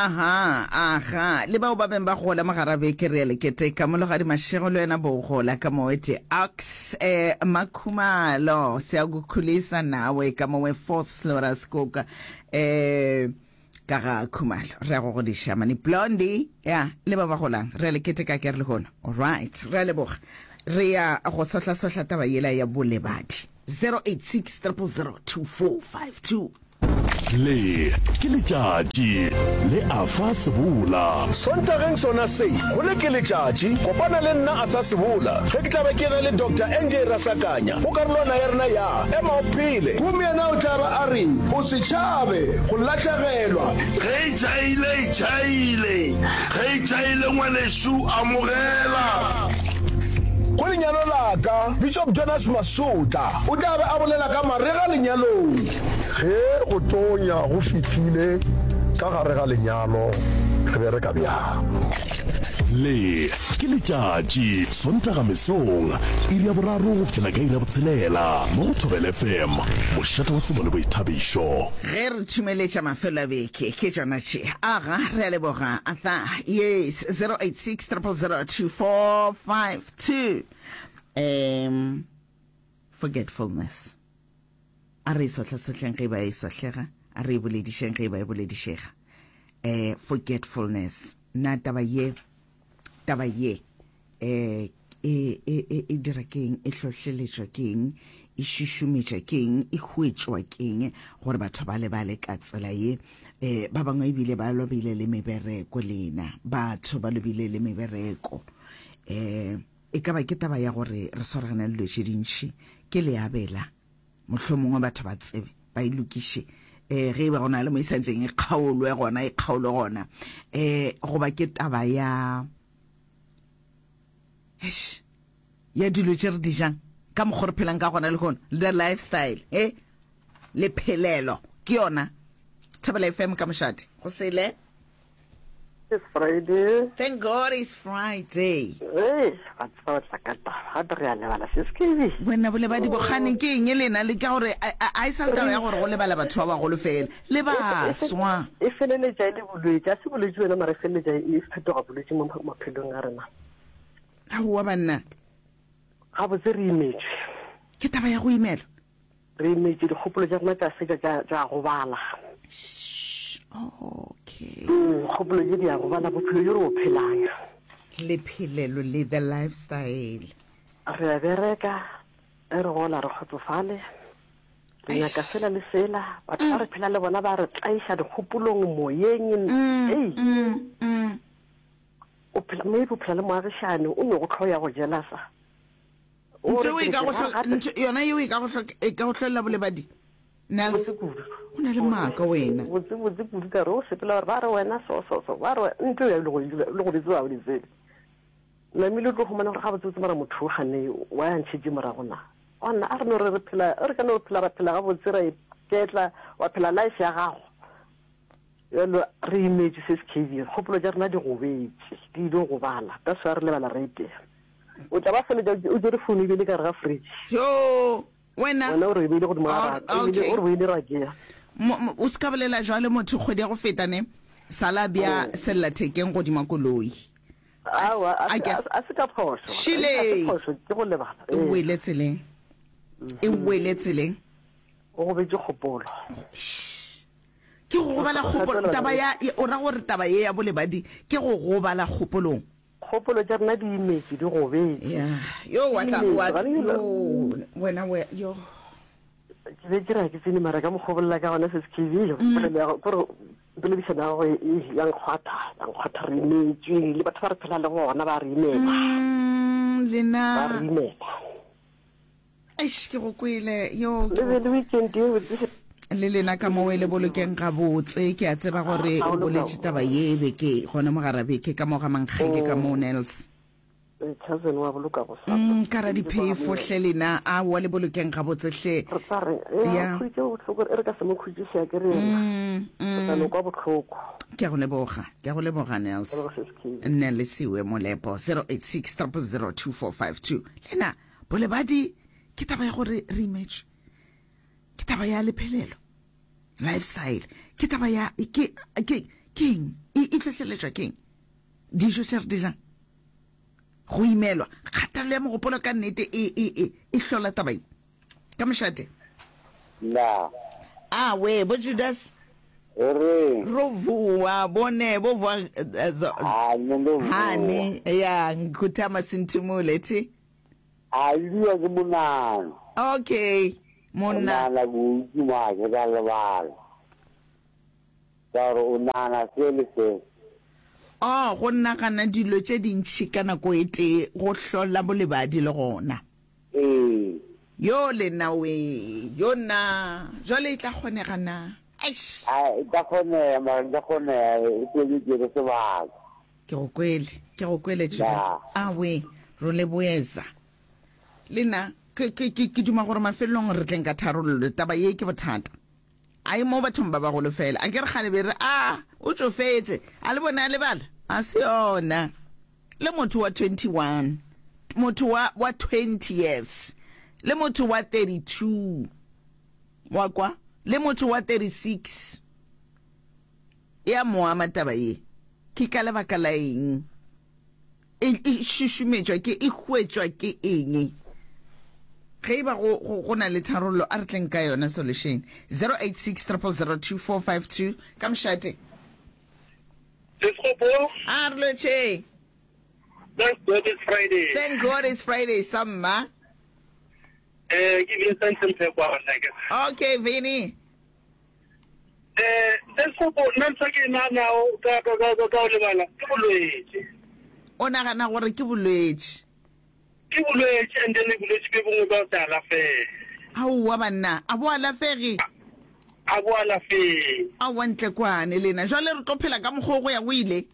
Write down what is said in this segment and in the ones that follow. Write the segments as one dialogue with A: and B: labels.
A: Aha, aha. Le bao ba beng ba gola mo gara beke re ya le keteka. Mologadi Mashego le wena bo gola ka mowe te ox eh Makhumalo siyakukhulisa nawe ka mowe Vosloorus Koka eh ka ga Khumalo re ya go godiša mane Blondie ya le ba ba golang re ya le keteka ke re lehono. All right, re a leboga. Re ya go sohla-sohla taba yela ya bolebadi. 086 000 2452.
B: Le ke letšatši le Arthur Sebola.
C: Sontageng sona se, go le ke letšatši, kopana le nna Arthur Sebola ge ke tla be ke na le Doctor NJ Rasakanya go karolwana ya rena ya Ema o Phele. Gomme yena o tla ba a re, O se tšhabe go lahlegelwa.
D: Ge e tšhaile, e tšhaile. Ge e tšhaile ngwanešu, amogela.
C: Go lenyalo la ka, Bishop Jonas Masotla o tla be a bolela ka marega lenyalong.
E: Ge go tonya go fihlile ka gare ga lenyalo, re bereka bjang?
B: Le ke letšatši, Sontaga mesong, iri ya boraro go fihlela ka iri ya botshelela, mo go Thobela FM, mošate wa tsebo le boithabišo.
A: Ge re thumeletša mafelo a beke, ke tšona tše. Aga, re a leboga, Arthur. Yes, 086 000 2452. Um, forgetfulness. A re e sohlasohleng ge e ba e sohlega, a re e boledišeng ge e ba e boledišega. Eh, forgetfulness. Na taba ye, taba ye, eh, e, e, e, e dira keng, e hlohleletšwa keng, e šušumetša keng, e hwetšwa keng gore batho ba lebale ka tsela ye? Eh, ba bangwe ebile ba lobile le mebereko lena, batho ba lobile le mebereko. Eh, E ka ba ke taba ya gore re swaragane le dilo tše dintši, ke leabela. Mohlomongwe batho ba tsebe, ba e lokiše. E, ge e ba go na le mo e santšeng e kgaolwe gona, e kgaolwe gona. E, goba ke taba ya, eish, ya dilo tše re di jang, ka mokgwa re phelang ka gona lehono, the lifestyle, e, lephelelo, ke yona. Thobela FM ka mošate, go sele.
F: It's Friday.
A: Thank God it's Friday.
F: Hey, ga tseba tla ka taba. Gape re a lebala se se ke.
A: Wena bolebadi bokgane ke eng lena le ka gore a e sa le taba ya gore go lebala batho ba bagolo fela le baswa.
F: E feleletša e le bolwetši, a se bolwetši wena mara e feleletša e fetoga bolwetši mo maphelong a rena.
A: Aowa banna.
F: Gabotse re imetšwe.
A: Ke taba ya go imelwa.
F: Re imetše, dikgopolo tša rena tša fetša tša, tša gobala.
A: Shh, okay.
F: Mm, kgopolo tše di a gobala, bophelo bjo re bo phelang.
A: Lephelelo le, the lifestyle.
F: Re a bereka, ge re gola re kgotsofale. Re nyaka sela le sela. Batho ba re phela le bona ba re tlaiša dikgopolong, moyeng. Ei. O phela, maybe o phela le moagišani, o no go hloya go jealous-a.
A: Ntho eo e ka go ntho yona yeo e ka go e ka go hlolela bolebadi. Nels, o na le maaka wena.
F: Botse botse kudu ka re o sepela gore ba re wena so so so ba re ntho ya le go le go tseba o di tsebe. Namile o tlo humana gore ga botse botse mara motho o gane wa ya ntšhetše morago na. Gona a re no re re phela re ka no phela ra phela ga botse ra iketla wa phela life ya gago. Bjalo re imetše se se KB kgopolo tša rena di gobetše di ile gobala that's why re lebala rate. O tla ba feletša o tšere phone e beile ka gare ga fridge.
A: Joo, wena.
F: Wena o re e beile godimo ga raka, e beile, o re beile rakeng.
A: O se ka bolela jwalo motho kgwedi ya go feta ne sala bja sellathekeng godimo koloi.
F: Aowa, a a se ka phošo.
A: Šile.
F: A se phošo, ke go lebala.
A: E wele tseleng. E wele tseleng.
F: O gobetše kgopolo.
A: Ke go gobala kgopolo. Taba ya, o ra gore taba ye ya bolebadi ke go gobala kgopolong.
F: Kgopolo tša rena di imetše, di gobetše.
A: Ya, yo wa tla, wa, yo, wena, we, yo.
F: Ke be ke re ga ke tsene mara ka mokgwa o bolela ka gona se se polelo ya kore poledišano ya gago e ya nkgwatha, ya nkgwatha re imetšwe le batho ba re phela le bona ba re imela.
A: Lena.
F: Ba re imela.
A: Eish, ke go kwele yo.
F: Le be le weekend ye botse.
A: Le lena ka moo e le bolokeng gabotse. Ke a tseba gore o boletše taba ye beke gona mo gara beke ka mo ga Mankgele ka mo Nels.
F: Cousin wa boloka go sa.
A: Mm, ka ra diphefo hle lena a wa le bolokeng gabotse hle.
F: Re tla re ya khutše bohloko e re ka se mo khutšiše a ke re yena. Mm, mm. Tla no kwa bohloko.
A: Ke a go leboga. Ke a go leboga Nels. Nelisiwe Molepo 086 000 2452. Lena Bolebadi ke taba ya gore re imetšwe, ke taba ya lephelelo, lifestyle, ke taba ya ke ke Keng e e hlohleletšwa keng? Dijo tše re di jang, go imelwa, kgatelelo ya mogopolo ka nnete e e e e hlola taba ye. Ka mošate.
G: Na.
A: A we, bo Judas.
G: O reng?
A: Ro vuwa, bone bo vuwa eh, zo-
G: A nne ndo vuwa.
A: Hani, ya nkuthama sinthumule thi.
G: A ibiwa ke monana.
A: Okay, monna.
G: Monana bontsi mo ke ka lebala. Ka gore o nagana se le se.
A: Oh, go nagana dilo tše dintši ka nako e tee go hlola bolebadi le gona.
G: Ee.
A: Yo lena wee, yo na, jwale e tla kgonega na? Eish!
G: A e tla kgonega, mara e tla kgonega, e tlo e tšere sebaka.
A: Ke go kwele, ke go kwele Judas.
G: Ya.
A: A wee, ro leboeza. Le na, ke, ke, ke, ke duma gore mafelelong re tleng ka tharollo. Taba ye ke bothata. A e mo bathong ba bagolo fela. A ke re kgale be re, A, o tšofetše. A le bone a lebala? A se yona. Le motho wa 21, motho wa, wa 20 years, le motho wa 32, wa kwa, le motho wa 36, e a mo ama taba ye. Ke ka lebaka la eng? E, e šušumetšwa ke, e hwetšwa ke eng? Ge e ba go, go, go na le tharollo, a re tleng ka yona solution. 086 000 2452, ka mošate.
H: Sesgopo.
A: A re lotšhe.
H: Thank God it's Friday.
A: Thank God it's Friday, samma.
H: Eh, ke Vincent Mphekwana ke.
A: Okay, Vinny.
H: Eh, Sesgopo, nna ntho ke naganago ka ka ka ka o lebala ke bolwetši.
A: O nagana gore ke bolwetši?
H: Ke bolwetši and then bolwetši bjo bongwe bja go se alafege.
A: Aowa banna, a bo alafege?
H: A bo alafege.
A: Aowa ntle kwane lena, jwale re tlo phela ka mokgwa o go ya go ile?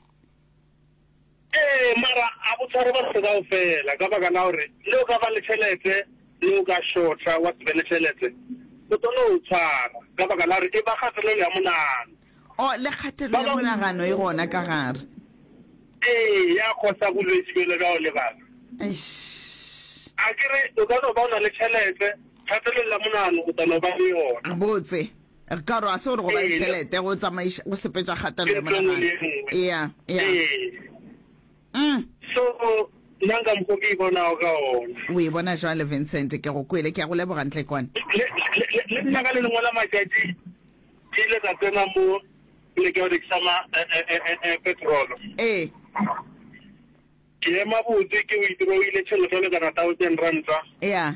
H: Ee, mara a bo tshware batho kaofela ka baka la gore le o ka ba le tšhelete le o ka shorta wa se be le tšhelete, o tlo no o tshwara ka baka la gore e ba kgatelelo ya monagano.
A: Oh, le kgatelelo ya monagano e gona ka gare.
H: Ee, ya khosa bolwetši bjalo bja go lebala.
A: Eish.
H: A ke re o ka no ba o na le tšhelete, kgatelelo ya monagano o tla no ba le yona.
A: Botse. Ka gore a se gore go ba le tšhelete go tsamaiša go sepetša kgatelelo ya monagano. Ea, ea.
H: Mm. So nna nka mokgo ke e bonago ka ona.
A: O e bona jwale Vincent, ke go kwele, ke a go leboga ntle kwane.
H: Le, le, le, le nna ka le lengwe la matšatši ke ile ka tsena mo poleke ya go rekisa ma eh, eh, eh, eh, petrolo.
A: Ee.
H: Ke ema botse ke withdrawile tšhelete ya lekana thousand ranta.
A: Ea.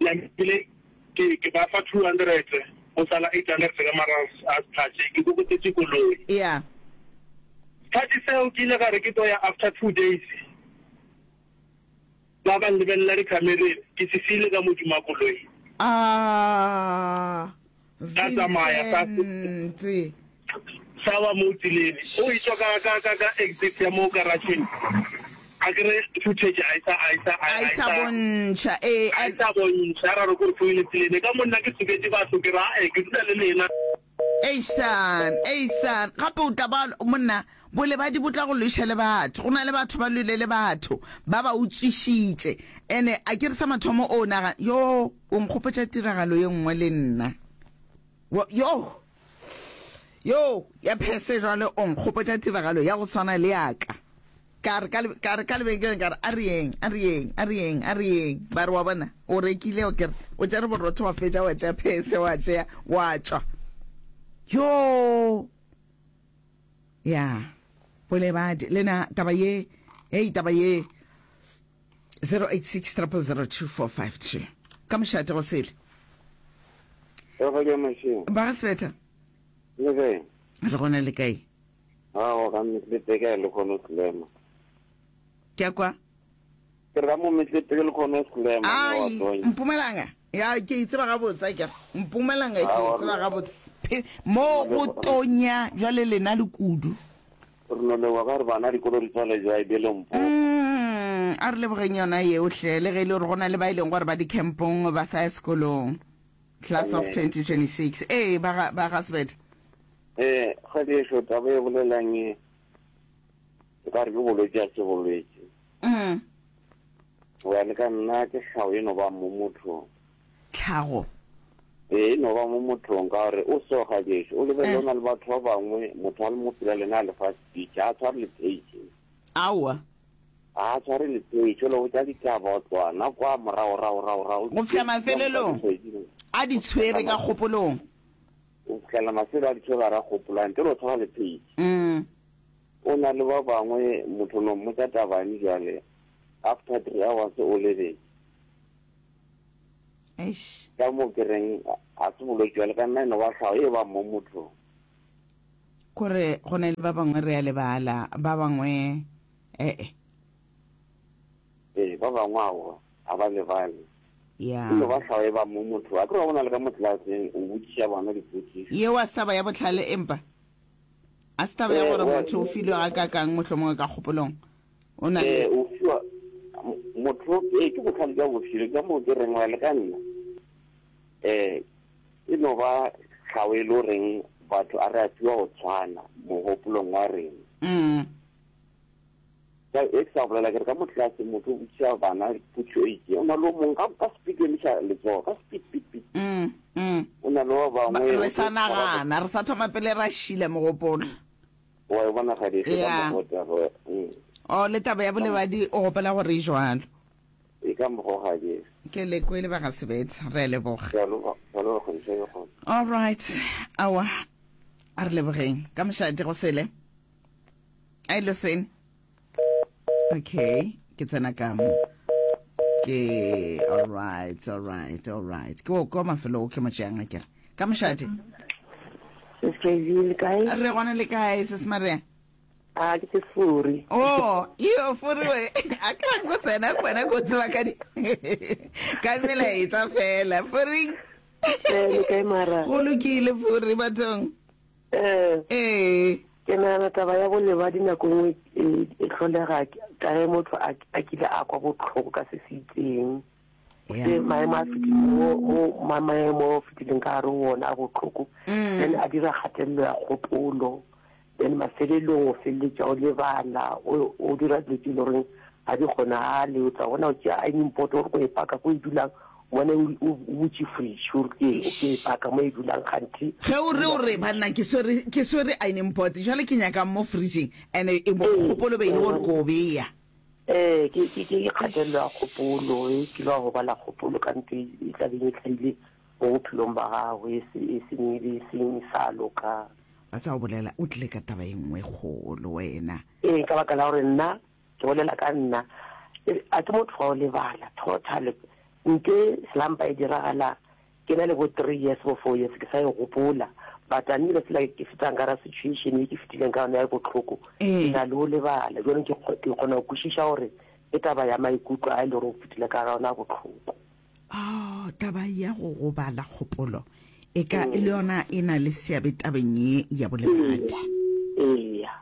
H: Namile ke ke ba fa 200 go sala 800 ka mara a sephatše ke kokotetše koloi.
A: Ea.
H: Sephatše seo ke ile ka re ke tlo ya after 2 days ba ba nlebelela dikhamereng ke se siile ka modimo wa koloi.
A: Ah.
H: Ka tsamaya ka
A: Vincent.
H: sa wa mo tseleng o etšwa ka ka ka ka exit ya mo garageng a ke re footage a e sa a e sa
A: A e sa bontšha ee
H: a e sa bontšha ra re ko re foile tseleng ka monna ke soketše batho ke ra e ke dula le lena
A: Eisan, eisan, gape o tla ba monna, bolebadi bo tla go lweša le batho. Go na le batho ba lwele le batho, ba ba utswišitše. Ene a ke re sa mathomo o naga, yo, o nkgopotša tiragalo ye nngwe le nna. Yo, yo, ya phese jwale o nkgopotša tiragalo ya go swana le ya ka. Ka re ka, ka re ka lebenkeleng ka re, a re yeng, a re yeng, a re yeng, a re yeng. Ba re, wa bona, o rekile, o ke re, o tšere borotho wa fetša, wa tšea phese, wa tšea, wa tšwa. Yoo! Ya, bolebadi, le na, taba ye, hei, taba ye, 086 000 2452. Ka mošate go sele. Ba ga Sebeta.
G: Le kae?
A: Re gona le kae?
G: Aowa, ka Metlete le kgone go slema.
A: Ke a kwa.
G: Ke re ka mo Metlete le kgone go slema.
A: Ai, Mpumalanga. Ya, ke e tseba gabotse akere. Mpumalanga ke e tseba gabotse. Mo go tonya jwale lena le kudu.
G: Re no leboga ka gore bana dikolo di tswale jwa ebele mpo.
A: Mm, a re lebogeng yona yeo hle, le ge e le gore go na le ba e leng gore ba di-campong ba sa ya sekolong. Class of 2026. Ee, ba ga, ba ga Sebete.
G: Ee, kgwedi ešo taba e bolelang e, e ka re ke bolwetši a se bolwetši.
A: Mm.
G: Go ya le ka nna ke tlhago e no ba mo motho.
A: Tlhago.
G: Ee, e no ba mo mothong ka gore o soga gešo. O lebelele o na le batho ba bangwe, motho a le mo pela lena a le fa speech, ga a tshware le page.
A: Aowa.
G: Ga a tshware le page, o le botša ditaba o tloga na kwa morago rago rago rago.
A: Go fihla mafelelong a di tshwere ka kgopolong.
G: O fihlela mafelo a di tshwere gare ga kgopolo, ntle le go tshwara le page. O na le ba bangwe, motho no mmotša tabane bjale, after 3 hours o lebetše.
A: Eish.
G: Ka mo ke reng ga se bolwetši bjale ka nna e no ba tlhago e ba mo mothong.
A: Kore go na le ba bangwe re a lebala, ba bangwe ee.
G: Ee, ba bangwe aowa ga ba lebale.
A: Ya.
G: E no ba tlhago e ba mo mothong. A ke re wa bona le ka mo tlelaseng o botšiša bana dipotšišo.
A: Yeo a se taba ya bohlale empa a se taba ya gore motho o filwe gakaakang mohlomongwe ka kgopolong. O na le.
G: Ee, o fiwa motho, ee, ke bohlale bja bophelo, ka moo ke reng wa le ka nna. Eh, e no ba tlhago e le goreng batho a re a fiwa go tshwana mogopolong wa rena.
A: Mm.
G: Ka e ke sa bolela ke re ka mo tlase motho o botšiša bana potšo e itšeng, o na le o mongwe ka ka speed o emiša letsogo ka speed speed speed.
A: Mm, mm.
G: O na le ba bangwe
A: Re sa nagana, re sa thoma pele ra šila mogopolo.
G: Wa e bona ga di
A: Ya. O le taba ya bolebadi o gopela gore e jwalo.
G: E ka mokgwa ga di.
A: Ke le kwele ba ga Sebetsa, re a leboga.
G: Ke a leboga, ke a leboga kgodišo e kgolo.
A: All right. Awa. A re lebogeng. Ka mošate go sele. Ai losene. Okay, ke tsena ka mo. Ke all right, all right, all right. Ke o kwa mafelo o ke mo tšeang a kere. Ka mošate.
F: Sis KV le kae?
A: Re gona le kae Sis Maria?
F: A ke se furi.
A: Oh, iyo furi we. A ke ra go tsena kwena go tseba ka di. Ka melaetsa fela. Furi.
F: Eh, le kae mara?
A: Go lokile furi bathong.
F: Eh.
A: Ee.
F: Ke nagana taba ya bolebadi nako nngwe e, e hlolega ka ge motho a, a kile a kwa bohloko ka se se itseng. Se maemo a fetileng mo, mo ma, maemo a fetileng ka gare go ona a bohloko.
A: Mm.
F: Then a dira kgatelelo ya kgopolo. Then mafelelong o feleletša o lebala, o, o dira dilo tše e le goreng ga di kgonagale. O tla bona o tšea ironing board gore o e paka ko e dulang, o bone o, o, o butše fridge o re ke, ke e paka mo e dulang kganthe.
A: Ge o re o re banna ke swere, ke swere ironing board jwale ke nyakang mo fridgeng and e bo kgopolo be e le gore ko o beya.
F: Ee, ke, ke, ke kgatelelo ya kgopolo, e kile wa gobala kgopolo ka ntho e, e tla beng e hlahile mo bophelong ba gago e se, e seng, e seng sa loka.
A: Wa tseba o bolela o tlile ka taba e nngwe kgolo wena.
F: Ee, ka baka la gore nna, ke bolela ka nna, a ke motho wa go lebala, total. Nte slampa e diragala ke na le bo 3 years bo 4 years ke sa e gopola, but a nnile fela ke fetang ka ra situation e ke fetileng ka yona ya bohloko, ke na le go lebala. Jwanong ke ke kgona go kwešiša gore ke taba ya maikutlo a e le gore o fetile ka ga yona a bohloko.
A: Oh, taba ya go gobala kgopolo e ka le yona e na le seabe tabeng ye ya bolebadi.
F: Eya.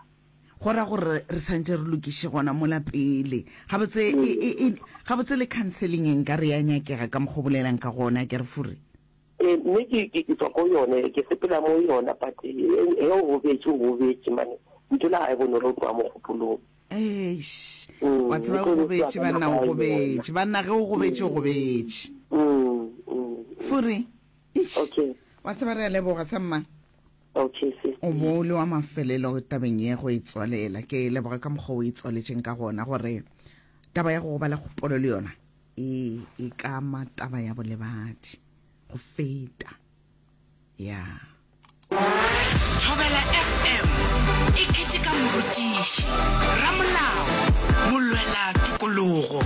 A: Go ra gore re santše re lokiše gona mola pele. Gabotse e, e, e, gabotse le counseling e nka re ya nyakega ka mokgwa o bolelang ka gona, ke re fure.
F: Ee, mme ke, ke, ke tswa ko yone, ke sepela mo yona, but e, e, o gobetše, o gobetše, mane ntho la ga e bonolo go tloga mo kgopolong.
A: Eish,
F: Mm,
A: wa tseba
F: e
A: o
F: tlo
A: gobetše
F: ka
A: banna, o
F: nako ya
A: gobetše banna, ge o gobetše o gobetše.
F: Mm, mm,
A: Fure, eish,
F: okay.
A: wa tseba re a leboga samma.
F: Okay, sis.
A: O bo o le wa mafelelo tabeng ye go e tswalela. Ke leboga ka mokgwa o e tswaletšeng ka gona gore taba ya go gobala kgopolo le yona e e ka ama taba ya bolebadi go feta. Ya.
I: Thobela FM e keteka morutiši, ramolao, molwela tokologo.